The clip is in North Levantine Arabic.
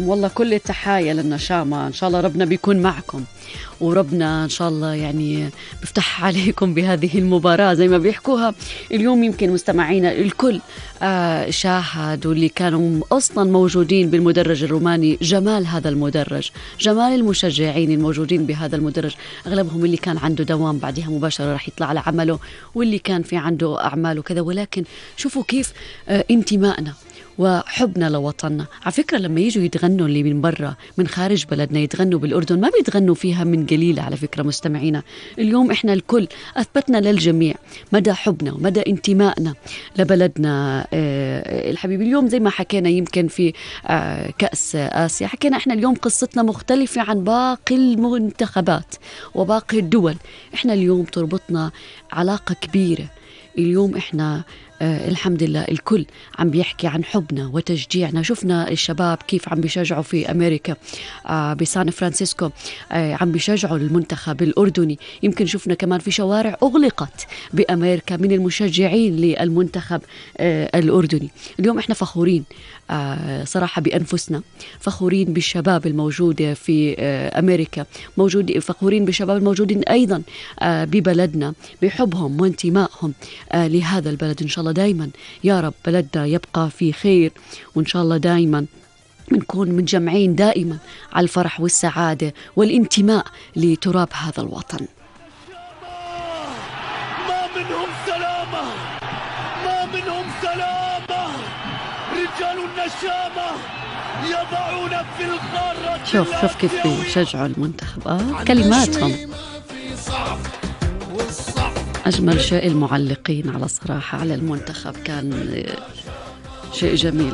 والله كل التحايا للنشامة، إن شاء الله ربنا بيكون معكم، وربنا إن شاء الله يعني بفتح عليكم بهذه المباراة زي ما بيحكوها. اليوم يمكن مستمعينا الكل شاهدوا اللي كانوا أصلا موجودين بالمدرج الروماني، جمال هذا المدرج، جمال المشجعين الموجودين بهذا المدرج، أغلبهم اللي كان عنده دوام بعدها مباشرة راح يطلع على عمله، واللي كان في عنده أعمال وكذا. ولكن شوفوا كيف انتمائنا وحبنا لوطننا. على فكرة لما يجوا يتغنوا اللي من برا من خارج بلدنا يتغنوا بالأردن، ما بيتغنوا فيها من قليلة. على فكرة مستمعينا، اليوم إحنا الكل أثبتنا للجميع مدى حبنا ومدى انتمائنا لبلدنا الحبيب. اليوم زي ما حكينا يمكن في كأس آسيا، حكينا إحنا اليوم قصتنا مختلفة عن باقي المنتخبات وباقي الدول. إحنا اليوم تربطنا علاقة كبيرة. اليوم إحنا الحمد لله الكل عم بيحكي عن حبنا وتشجيعنا. شفنا الشباب كيف عم بيشجعوا في أمريكا بسان فرانسيسكو، عم بيشجعوا المنتخب الأردني. يمكن شفنا كمان في شوارع أغلقت بأمريكا من المشجعين للمنتخب الأردني. اليوم إحنا فخورين صراحة بأنفسنا، فخورين بالشباب الموجودة في أمريكا، فخورين بالشباب الموجودين أيضا ببلدنا، بحبهم وانتمائهم لهذا البلد. إن شاء الله دايما يا رب بلدنا يبقى في خير، وإن شاء الله دايما بنكون متجمعين دائما على الفرح والسعادة والانتماء لتراب هذا الوطن. ما منهم سلامة، ما منهم سلامة، رجال النشامة يضعون في القارة. شوف كيف بيشجعوا المنتخب، كلماتهم أجمل شيء. المعلقين على صراحة على المنتخب كان شيء جميل.